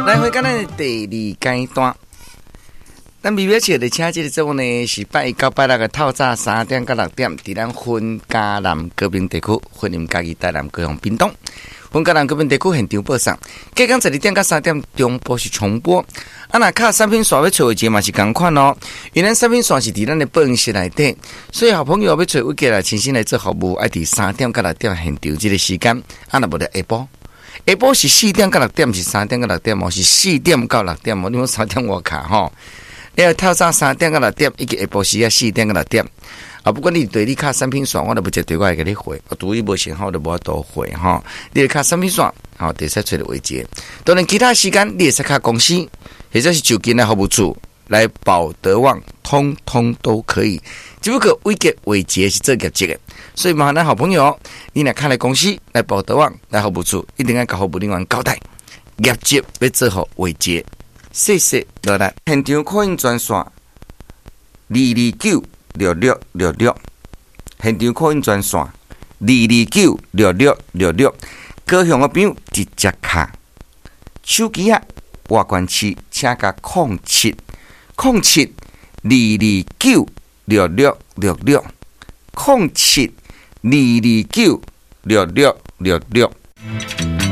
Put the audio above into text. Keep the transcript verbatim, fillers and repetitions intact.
來回到咱的第二階段。咱微微笑佇請這个節目呢，是拜一到拜六的透早三點到六點，佇咱雲嘉南高屏地區，雲林嘉義台南高雄屏東，雲嘉南高屏地區現場播送。隔工十二點到三點中晡是重播。啊，若敲產品線欲揣偉杰嘛是仝款哦，因為咱產品線是佇咱的播音室內底，所以好朋友欲揣偉杰來親身來做服務，愛佇三點到六點現場這个時間，啊，若無就下晡。下晡是四點到六點，毋是三點到六點哦，是四點到六點哦。你講三點外敲吼？你要透早三點到六點，以及下晡時啊四點到六點。啊，不管你對你敲產品線，我都無接電話會共你回。拄伊無信號，就無法度回吼。你會敲產品線，吼，會使揣著偉杰。當然，其他時間你會使敲公司，或者是就近來服務處來保德旺，通通都可以。只不過偉杰偉杰是做業績的，所以麻煩咱好朋友，你若敲來公司來保德旺來服務處，一定愛共服務人員交代業績欲做予偉杰。謝謝落來，現場 call in 專線二二九六六六六，現場 call in 專線二二九六六六六，高雄的朋友直接敲手機仔，外縣市請加空七空七二二九六六六六空七二二九六六六六。